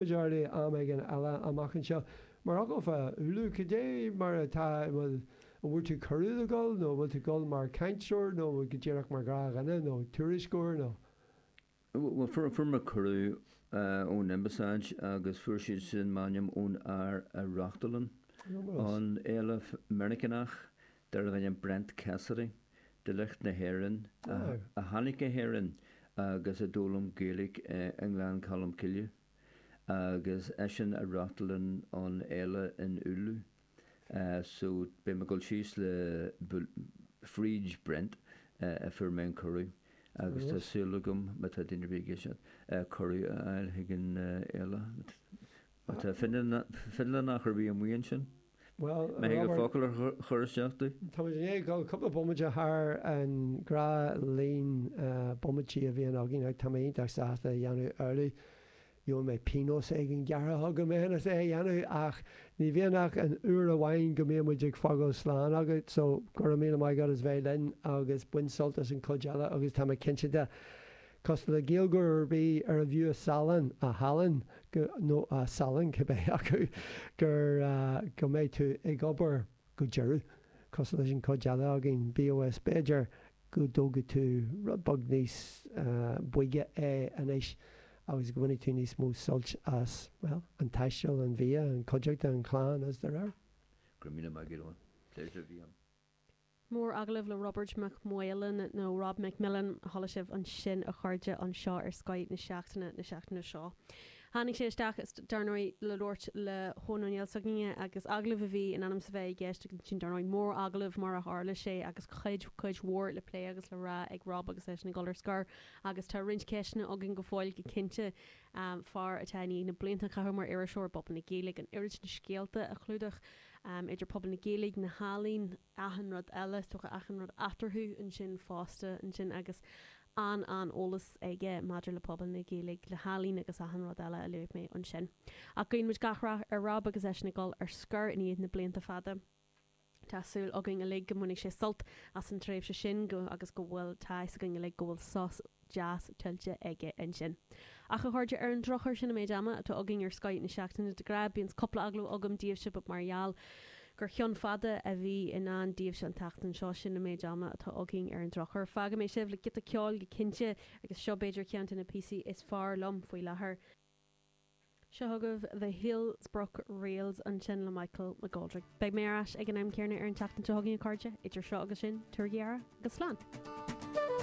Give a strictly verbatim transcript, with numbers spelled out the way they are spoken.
Deardaí am éigin eile amach anseo. Mar fhocal fá Oulu, cad é mar atá, an bhfuil, an bhfuair tú cuireadh le dhul nó an bhfuil tú ag dul mar chainteoir nó go díreach mar ghnáthdhuine nó tuairisceoir nó? Bhuel, fuair, fuair mé cuireadh ón Ambasáid agus fuair siad sin m'ainm ón fhear a reáchtálann an fhéile Meiriceánach darbh ainm Brent Cassidy, de shliocht na hÉireann, a tháinig go hÉirinn agus a d'fhoghlaim Gaeilge i nGleann Cholm Cille agus eisean a reáchtálann an fhéile in Oulu. So beidh mé ag dul síos le fríd Brent a fuair mé an cuireadh agus tá súil agam, má tá duine ar bith ag éisteacht, cuireadh a fháil chuig an fhéile. Má tá Fionlannach ar bith amuigh ansin, Bhuel, má thig Robert, focal a chur isteach domh. Tá muid i ndiaidh dul cúpla bomaite thar an ngnáthlíon bomaití a bhíonn againn ach tá mé iontach sásta a dhéanamh amhlaidh. Gheobhaidh mé pionós éigin gearrtha chugam féin as é a dhéanamh ach ní bhíonn ach an uair amháin go mbíonn muid ag fágáil slán agat so go raibh míle maith agat as bheith linn agus bain sult as an chuid eile agus tá mé cinnte de cosúil le Gaeilgeoir ar bith ar a bhfiú a salann, a shalann, go, nó a salann, cibé acu, gur, go mbeidh tú ag obair go deireadh, cosúil leis an chuid eile againn, bíodh is b'fhéidir go dtógfaidh tú rud beag níos boige é anois agus go mbainfidh tú níos mó suilt as, bhuel, an taisteal, an bhia, an chuideachta, an chlann is dá réir. Go raibh míle maith agat, Eoin. Pléisiúr a bhí ann. Mór-agallamh le Roibeard Mac Maoláin nó Rob McMillan a chuala sibh ansin a chairde anseo ar Scoth na Seachtaine na seachtaine seo. Tháinig sé isteach dar ndóigh le labhairt le hEoin Ó Néill s'againne agus agallamh a bhí in ainm is a bheith i gceist ansin dar ndóigh mór-agallamh mar a tharla sé agus cuid cuid mhór le plé agus le rá ag Rob agus eisean ag dul ar scor agus tá roinnt ceisteanna againn go fóill go cinnte fear atá i ndiaidh na blianta a chaitheamh mar iriseoir i bpobal na Gaeilge an oiread sin scéalta a chlúdach idir pobal na Gaeilge, na healaíona, achan rud eile, is dócha achan rud eatarthu ansin fosta ansin agus an-an-eolas aige maidir le pobal na Gaeilge, le healaín agus achan rud eile a luaigh mé ansin. Ach guíonn muid gach rath ar Rob agus eisean ag dul ar scor i ndiaidh na blianta fada. Tá súil againn uilig go mbainfidh sé sult as an tréimhse sin go agus go bhfuil tá fhios againn uilig go bhfuil sos deas tuillte aige ansin. Ach a chairde, ar an drochuair sin an méid ama atá againn ar Scoth na Seachtaine de ghnáth bíonn cúpla agallamh agam daoibhse but mar gheall gur cheann fada a bhí i ndán daoibhse an tseachtain seo sin an méid ama atá againn ar an drochuair. Fágfaidh mé sibh le giota ceoil go cinnte agus seo b'fhéidir ceann de na píosaí is fearr liom faoi láthair. Seo chugaibh The Hillsbrook Rails ansin le Michael McGoldrick. Beidh mé ar ais ag an am céanna ar an tseachtain seo chugainn a chairde, idir seo agus sin, tabhair aire agus slán.